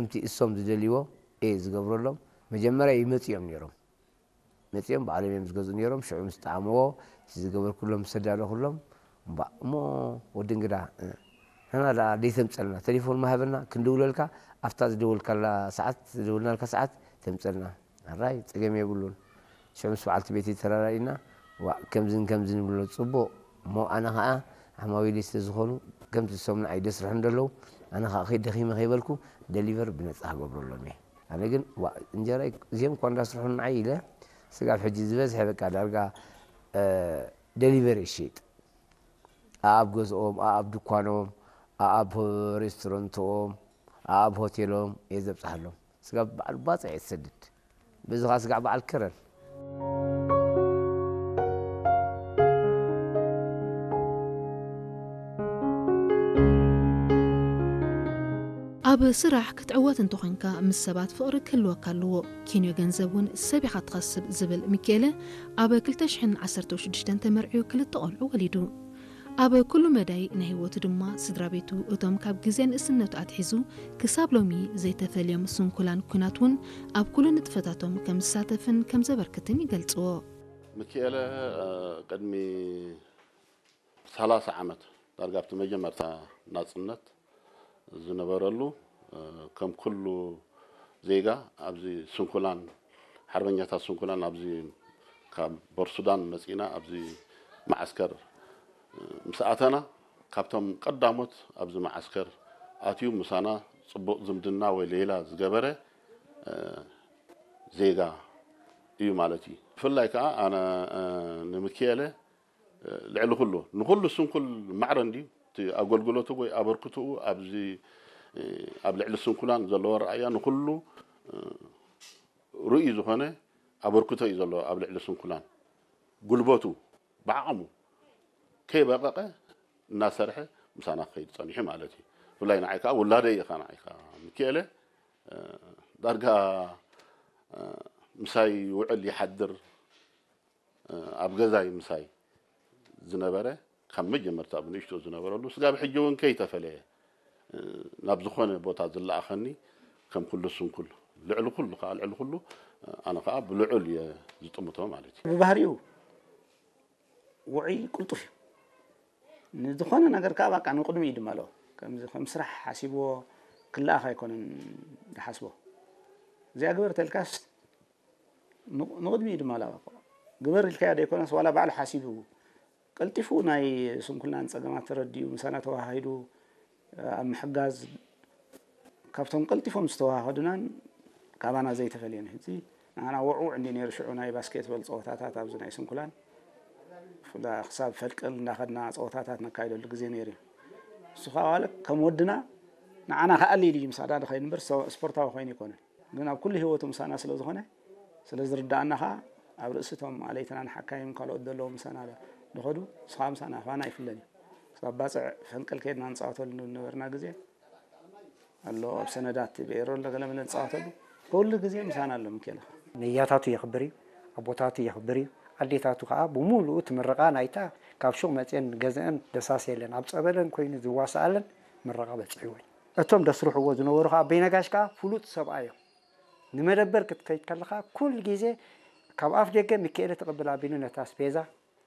ከምቲ እሶም ዝደልይዎ እየ ዝገብረሎም። መጀመርያ ይመፁ እዮም ነይሮም። መፂኦም ባዕሎም እዮም ዝገዝኡ ነይሮም። ሽዑ ምስ ጠዓምዎ፣ እቲ ዝገበርኩሎም፣ ምስ ተዳለኹሎም፣ እምባእ እሞ ወዲ እንግዳ፣ እ፣ ንሕና ደኣ ደይተምፀልና፣ ቴሌፎን ማሃበና፣ ክንድውለልካ፣ ኣብታ ዝደወልካላ ሰዓት፣ ዝደወልናልካ ሰዓት ተምፀልና። ኣራይ፣ ፀገም የብሉን። ሽዑ ምስ በዓልቲ ቤተይ ተራዳኢና፣ ዋእ፣ ከምዝን ከምዝን ንብሎ፣ ፅቡቕ። እሞ ኣነ ኸዓ ዓማዊለይ ስለ ዝኾኑ፣ ከምቲ ዝሰምዑ ንዓይ ደስርሑ እንደለዉ፣ ኣነ ኸዓ ከይ-፣ ደኺመ ከይበልኩ፣ ደሊቨር ብነፃ ክገብረሎም እየ። ኣነ ግን፣ ዋእ፣ እንጀራ እዚኦም እኳ እንዳስርሑ ንዓይ ኢለ፣ ስጋብ ሕጂ ዝበዝሐ በቃ ዳርጋ፣ እ፣ ደሊቨር ይሽይጥ። ኣኣብ ገዝኦም፣ ኣኣብ ድኳኖም፣ ኣኣብ ሬስቶራንትኦም፣ ኣኣብ ሆቴሎም እየ ዘብፅሓሎም። ስጋብ በዓል ባፅዕ እየ ዝሰድድ። በዚ ኸዓ ስጋዕ በዓል ከረን። ኣብ ስራሕ ክትዕወት እንተኾይንካ ምስ ሰባት ፍቕሪ ክህልወካ ኣለዎ። ኪንዮ ገንዘብ እውን ሰብ ኢኻ ትኸስብ ዝብል ሚኪኤለ ኣብ ክልተ ሽሕን ዓሰርተ ሽዱሽተን ተመርዕዩ ክልተ ቆልዑ ወሊዱ። ኣብ ኩሉ መዳይ ናይ ህይወቱ ድማ ስድራ ቤቱ እቶም ካብ ግዜ ንእስነቱ ኣትሒዙ ክሳብ ሎሚ ዘይተፈልዮም ስንኩላን ኲናት እውን ኣብ ኩሉ ንጥፈታቶም ከም ዝሳተፍን ከም ዘበርክትን ይገልጽዎ። ሚኪኤለ እ፣ ቅድሚ ሰላሳ ዓመት ዳርጋ ኣብቲ መጀመርታ ናጽነት ዝነበረሉ እ፣ ከም ኩሉ ዜጋ ኣብዚ ስንኩላን ሓርበኛታት ስንኩላን ኣብዚ ካብ ቦርሱዳን መጺና ኣብዚ መዓስከር እ፣ ምስ ኣተና ካብቶም ቀዳሞት ኣብዚ መዓስከር ኣትዩ ምሳና ጽቡቕ ዝምድና ወይ ሌላ ዝገበረ እ፣ ዜጋ እዩ ማለት እዩ። ብፍላይ ከዓ ኣነ እ፣ ንምክኤለ ልዕሊ ኩሉ ንኩሉ ስንኩል ማዕረ እንድዩ እቲ ኣገልግሎቱ ወይ ኣበርክትኡ ኣብዚ ኣብ ልዕሊ ስንኩላን ዘለዎ ረኣያ ንኩሉ ርእዩ ዝኾነ ኣበርክቶ እዩ ዘለዎ ኣብ ልዕሊ ስንኩላን ጉልበቱ ብዓቕሙ ከይበቐቐ እናሰርሐ ምሳና ክኸይድ ፀኒሑ ማለት እዩ። ብፍላይ ንዓይ ከዓ ውላደይ ኢኻ ንዓይ ከዓ ምክኤለ ዳርጋ ምሳይ ይውዕል ይሓድር ኣብ ገዛይ ምሳይ ዝነበረ ካብ መጀመርታ ብንእሽቶ ዝነበረሉ ስጋብ ሕጂ እውን ከይተፈለየ ናብ ዝኾነ ቦታ ዝለኣኸኒ ከም ኩሉ ስንኩል ልዕሊ ኩሉ ከዓ ልዕሊ ኩሉ ኣነ ከዓ ብልዑል እየ ዝጥምቶ ማለት እዩ። ብባህሪኡ ውዑይ ቅልጡፍ እዩ። ንዝኾነ ነገር ከዓ በቃ ንቕድሚ እዩ ድመሎ። ከምዚ ከም ስራሕ ሓሲብዎ ክለኣኽ ኣይኮነን ድሓስቦ። እዚኣ ግበር ተልካስ ንቕድሚ እዩ ድመላ ግበር ኢልካዮ ዘይኮነስ ዋላ ባዕሉ ሓሲቡ ቀልጢፉ ናይ ስንኩልናን ፀገማት ተረዲኡ ምሳና ተወሃሂዱ ኣብ ምሕጋዝ ካብቶም ቀልጢፎም ዝተወሃሃዱናን ካባና ዘይተፈልየን ሕዚ ንዓና ውዕውዕ እንዲ ነይሩ ሽዑ ናይ ባስኬትበል ፀወታታት ኣብዚ ናይ ስንኩላን ክሳብ ፈልቀል እንዳኸድና ፀወታታት ነካይደሉ ግዜ ነይሩ እዩ። እሱ ከዓ ዋለ ከም ወድና ንዓና ከኣሊ ኢሉ እዩ ምስ ኣዳዲ ኸይኑ እምበር ስፖርታዊ ኮይኑ ይኮነን። ግን ኣብ ኩሉ ህይወቱ ምሳና ስለ ዝኾነ ስለ ዝርዳኣና ኸዓ ኣብ ርእሲ እቶም ኣለይትና ንሓካይም ካልኦት ዘለዉ ምሳና ዝኸዱ ንስኻ ምሳና ኣፋና ኣይፍለን እዩ። ክሳብ ባፅዕ ፈንቅል ከይድና ንፃወተሉ ዝነበርና ግዜ ኣሎ ኣብ ሰነዳት ብኤሮ ኣሎ ገለመለ ንፃወተሉ ኩሉ ግዜ ምሳና ኣሎ ምኬላ። ነያታቱ የኽብር እዩ፣ ኣቦታቱ የኽብር እዩ፣ ኣዴታቱ ከዓ ብምሉኡ እቲ ምርቓ ናይታ ካብ ሹቕ መፅአን ገዝአን ደሳስ የለን ኣብ ፀበለን ኮይኑ ዝዋስኣለን ምርቓ በፅሕዎ እዩ። እቶም ደስርሕዎ ዝነበሩ ከዓ ኣቦይ ነጋሽ ከዓ ፍሉጥ ሰብኣይ እዮም። ንመደበር ክትከይድ ከለኻ ኩሉ ግዜ ካብ ኣፍ ደገ ሚካኤለ ትቕብል ኣቢሉ ነታ ኣስቤዛ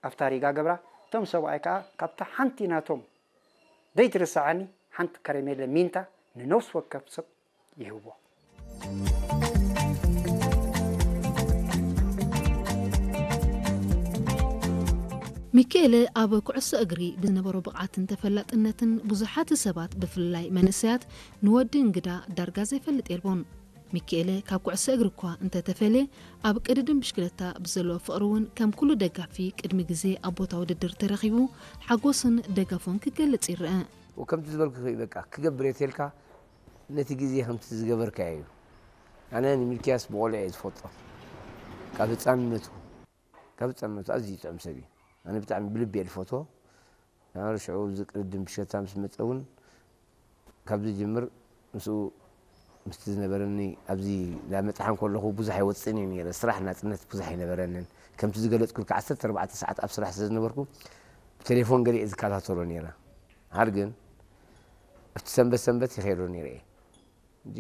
ኣብታ ሪጋ ገብራ እቶም ሰብኣይ ከዓ ካብታ ሓንቲ ናቶም ዘይትርሰዓኒ ሓንቲ ከረሜለ ሚንታ ንነፍሲ ወከፍ ሰብ ይህቦ። ሚካኤለ ኣብ ኩዕሶ እግሪ ብዝነበሮ ብቕዓትን ተፈላጥነትን ብዙሓት ሰባት ብፍላይ መንእሰያት ንወዲ እንግዳ ዳርጋ ዘይፈልጥ የልቦን። ሚኪኤለ ካብ ኩዕሶ እግሪ እኳ እንተተፈልየ ኣብ ቅድድም ብሽክለታ ብዘለዎ ፍቕሪ እውን ከም ኩሉ ደጋፊ ቅድሚ ግዜ ኣብ ቦታ ውድድር ተረኺቡ ሓጎሱን ደገፉን ክገልጽ ይረኣ። ከምቲ ዝበልኩኺ በቃ ክገብር እየ ተልካ ነቲ ግዜ ከምቲ ዝገበርካዮ እዩ። ኣነ ንሚልክያስ ብቖልዑ እየ ዝፈልጦ ካብ ህፃንነቱ ካብ ህፃንነቱ ኣዝዩ ጥዑም ሰብ እዩ። ኣነ ብጣዕሚ ብልቢ እየ ዝፈትዎ። ሽዑ እዚ ቅድድም ብሽክለታ ምስ መፀ እውን ካብ ዝጅምር ምስኡ ምስቲ ዝነበረኒ ኣብዚ ላመፅሓ እንከለኹ ብዙሕ ኣይወፅእን እየ ነይረ። ስራሕ ናፅነት ብዙሕ ኣይነበረንን። ከምቲ ዝገለፅኩልካ ዓሰርተ ኣርባዕተ ሰዓት ኣብ ስራሕ ስለ ዝነበርኩ ብቴሌፎን ገለ እየ ዝከታተሎ ነይረ። ሓር ግን ኣብቲ ሰንበት ሰንበት ይኸይዶ ነይረ እየ። እንጂ